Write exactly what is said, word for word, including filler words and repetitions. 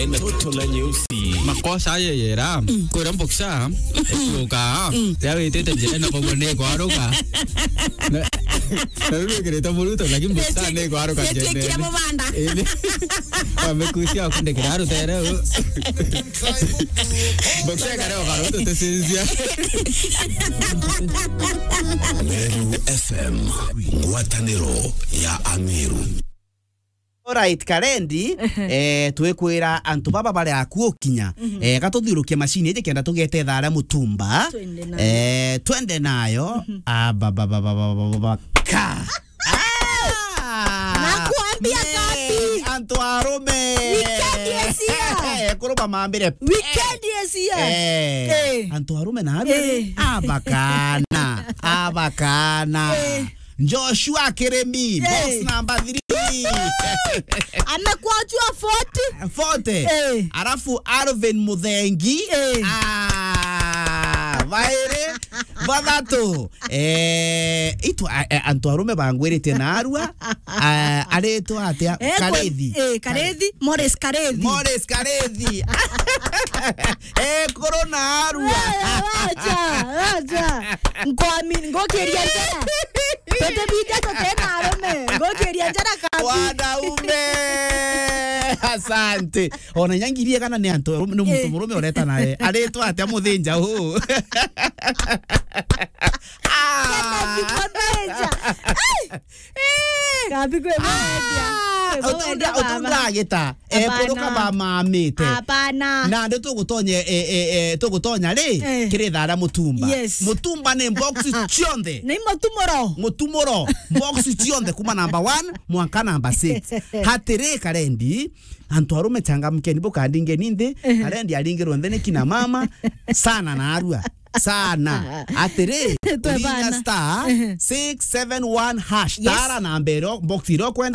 Toto la nyeusi. Makosa aye yera. Mm. Kura mboksa. Mm. Kuruka. Mm. Ya witite njira na kogo ni kwaruka. Na, na riu wikirite muruto, lakini mboksa ni kwaruka njene. Kira mubanda. Indi. Wamekusia kundikira rutere. Mboksa kare okaruto tesinzia. Meru F M, ngwataniro ya Ameru. Alright, Karendi, ehe, eh, twikwira antu baba bari akuo kinya. Mhm. Eh, gatuthiurukie macini iji kenda tugete thaa ria mutumba. Twende nayo. Eh, twende nayo. Mhm. Ah, ba, ba, ba, ka. Ah! Nakwambia, man, kabi. Antu arume. Weekend is here. Eh, kuruma mambire. Weekend is here. Eh, eh, antu arume na arume. Eh. Abakana. Abakana. Eh. Joshua Kirimi, eh, box number three. Amekuachua forty. Forty. Eh. Alafu Alvin Muthengi. Eh. Ah, bairi, bathatu. Eh, itu, a, a, antu arume bangwirite na arua, a, aritwa atia? Eh, Karithi. Eh, Karithi, Morris Karithi. Morris Karithi. Eh, kuru na arua. Eh, wacha, wacha. Nkwami, ngukiria njara. Tutibinja tutena arume. Ngukiria njara kabi. Wanaume. Asante. Ona nyangirie kana ni antu, ni muntu, eh, murume ureta naye. Aritwa atia muthinja uu? Ah. Kennedy Muthinja. Ai! Eh! Kabi kwe mwendia. Ah! Kwe mwendia, utunda, baba. Utunda agita. Hapana. Ekuruka bamamite. Hapana. Na ndi tugutonya, e, e, e, tugutonya ri, eh, kiri thaa ria mutumba. Yes. Mutumba ni box cionthe. Ni mutumuro. Mutumuro. Box cionthe kuma number one mwanka number six. Hatiri, Karendi, antu arume changamkeni, bukandingeni nthi, ehe, Karendi aringirwe nthi ni kina mama, sana na arua. Sana. Atiri, twe urinya bana. Star, ehe, six seven one hash. Yes. Tara namba iria, box iria ukwenda.